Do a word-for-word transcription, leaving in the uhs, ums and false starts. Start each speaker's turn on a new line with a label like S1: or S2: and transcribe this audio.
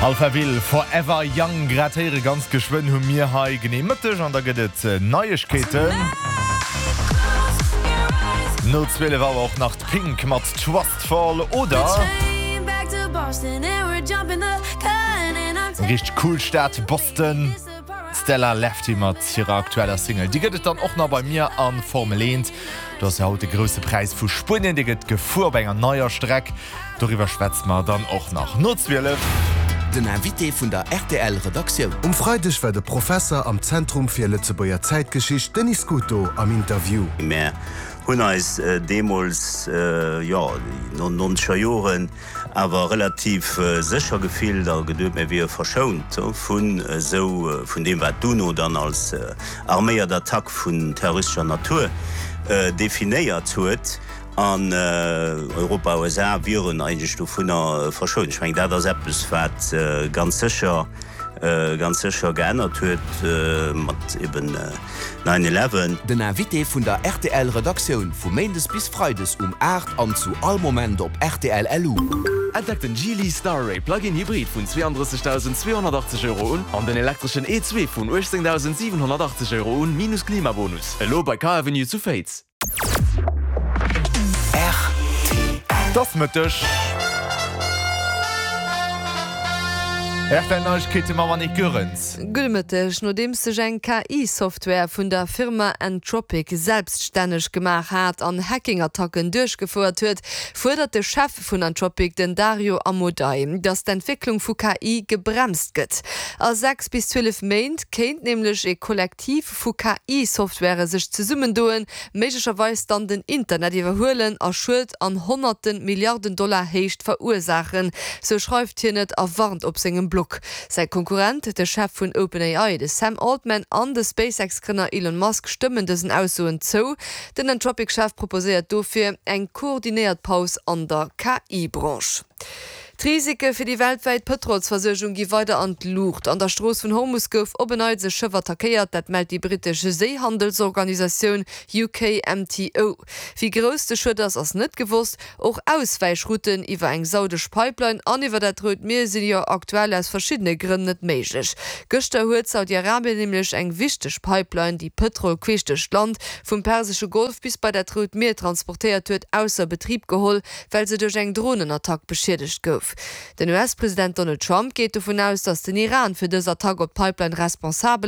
S1: Alphaville, Forever Young, grad héiere ganz geschwënn hu mir hei genee Mëtteg an da gëtt et Neiegkeeten. No zwielef Auer och nach d'Pink mat Trustfall oder eng richteg cool Stad, Boston, d'Stella Lefty mat hirer aktueller Single. Déi gëtt et dann och nach bei mir an Formel eent. Do ass jo haut de Grousse Präis vu Spuenien, dee gëtt gefuer op enger neier Streck. Doriwwer schwätze mer dann och nach no zwielef.
S2: Den Invité vun der rtl Redaktioun.
S3: Um Freideg war de Professer am Zentrum fir Lëtzebuerger Zäitgeschicht Denis Scuto am Interview.
S4: Mär hunn eis deemools, jo, no nonzeger Joren awer relativ sécher gefillt a geduet, mir wiere verschount vun esou, vun deem, wat d'UNO dann als arméiert Attack vun terroristescher Natur definéiert huet. An Europa a U S A wieren eigentlech dovunner verschount. Ech mengen, dat ass eppes, wat ganz sécher, ganz sécher geännert huet mat eben nine eleven.
S2: Den Invité vun der rtl Redaktioun vu Méindes bis Freides um aacht an zu all Moment op rtl L U.
S5: Entdeckt den Geely Starray Plug-in Hybrid vun zweeandrëssegdausend zweehonnertachtzeg Euro un an den elektreschen E zwee vun uechtzéngdausend siwenhonnertachtzeg Euro un, minus Klimabonus. Elo bei Car Avenue zu Féiz.
S1: Et ass Mëtteg. R T L Neiegkeete mam Annick Goerens.
S6: Gudde Mëtteg. Nodeems sech eng K I-Software vun der Firma Anthropic selbststänneg gemaach hat an Hacking-Attacken duerchgefouert huet, fuerdert de Chef vun Anthropic, den Dario Amodei, datt d'Entwécklung vu K I gebremst gëtt. A sechs bis zwielef Méint kéint nämlech e Kollektiv vu K I-Software sech zesummendoen, méiglecherweis dann den Internet iwwerhuelen a Schued an honnerte Milliarden Dollar Héicht verursaachen, sou schreift hien et a warnt op sengem Blog. Säi Konkurrent, de Chef vun OpenAI, de Sam Altman an de SpaceX-Grënner Elon Musk stëmmen dësen Aussoen zou. Den Anthropic-Chef proposéiert dofir eng koordinéiert Paus an der K I-Branche. D'Risike fir déi weltwäit Pëtrolsversuergung gi weider an d'Luucht. An der Strooss vun Hormus gouf op en Neits e Schëff attackéiert, dat mellt déi brittesch Séihandelsorganisatioun U K M T O. Wéi grouss de Schued ass, ass net gewosst. Och Auswäichrouten iwwer eng saudesch Pipeline an iwwer dat Rout Mier sinn jo aktuell aus verschiddene Grënn net méiglech. Gëschter huet Saudi-Arabien nämlech eng wichteg Pipeline, déi Pëtrol queesch duerch d'Land vum Persesche Golf bis bei dat Rout Mier transportéiert huet, ausser Betrib geholl, well se duerch eng Dronenattack beschiedegt gouf. Den U S-President Donald Trump geet dovun aus, datt den Iran fir dës Attack op d'Pipeline responsabel